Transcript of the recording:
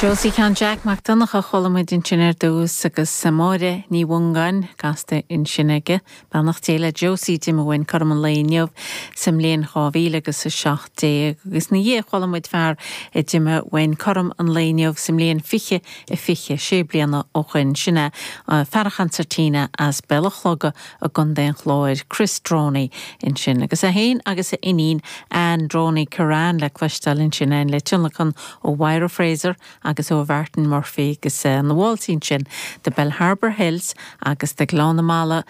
Josie Sheáin Jeaic Mac Donncha a chuala muid ansin ar dtús agus Máire Ní Mhongáin gasta ansin aige. Beannacht Dé le Josie d'imigh uainn cothrom an lae inniu sa mbliain 2000 agus 17 agus ina dhiaidh chuala muid fear a d'imigh uainn cothrom an lae inniu sa mbliain 2020, sé bliana ó shoin. Sin é fear an chansairtín as Béal an Chloga i gContae an Chláir, Chris Droney ansin agus é féin agus a iníon Anne Droney Curran le cloisteáil ansin le tionlacan ó Mháire Fraser agus ó Mhartin Murphy agus na válsaí ansin, The Bellharbour Hills agus The Gleann na Malla.